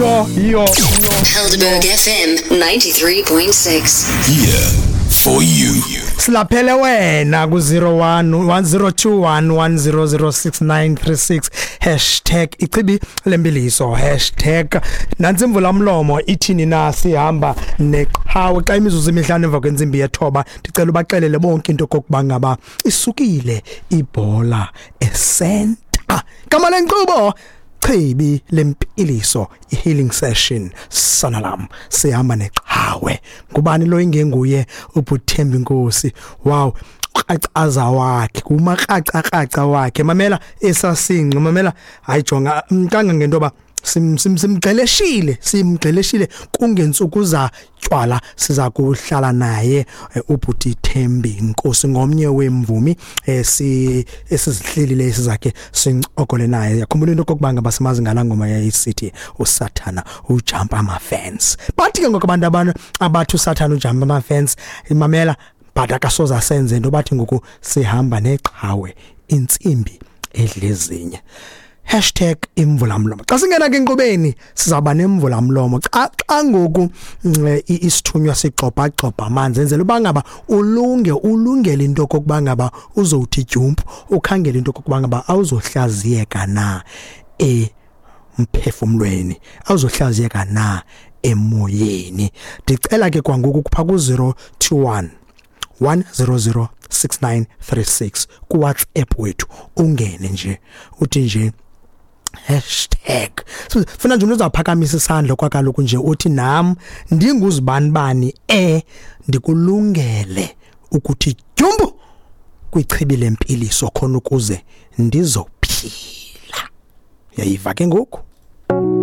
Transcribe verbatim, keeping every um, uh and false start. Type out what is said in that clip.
Yo yo. Helderberg F M ninety-three point six. Here for you. Silaphele wena ku zero one one zero two one one zero zero six nine three six hashtag ichibi lempiliso hashtag nantsi imvula mlomo ithini na sihamba neqhawe xa imizuzu emihlanu emva kwentsimbi yethoba. Ndicela ubaxelele bonke into kokuba ngaba isukile ibhola esenta. Gama lenkqubo Chibi lempiliso, healing session sanalam sihamba neqhawe. Ngubani lo ingenguye uButhembi Nkosi? Wow, kracaza wakhe kumakraca wakhe. Mamela esasinqi, mamela hayi jonga kanga ngento ba sim sim simgxeleshile simgxeleshile kungentsuku za tywala siza kuhlala naye uBhuti Thembi Nkosi, ngomnye wemvumi esi esizihlelile esizakhe sincokole naye. Yakhumbula into kokuba ngaba simazi ngala ngoma yayisithi uSathana ujump ama fence. Bathi ke ngoku abantu abantu abathi uSathana ujump ama fence, imamela but akasoza senze into, bathi ngoku sihamba neqhawe intsimbi edlezinye. Hashtag imvulamlomo. Xa singena ke enkqubeni sizawuba nemvulamlomo. Xa xa ngoku isithunywa sigxobha gxobha amanzi enzela uba ngaba ulunge ulungele into kokuba ngaba uzowuthi jump, ukhangele into kokuba ngaba awuzohlaziyeka na emphefumlweni, awuzohlaziyeka na emoyeni. Ndicela ke kwangoku kupha ku zero two one one zero zero six nine three six ku WhatsApp wethu, ungene nje uthi nje hashtag. So funa nje uzawuphakamisa isandla kwakaloku nje uthi nam ndinguzibanibani eh ndikulungele ukuthi jumbo kwichibi lempiliso khona ukuze ndizophila. Uyayiva ke ngoku?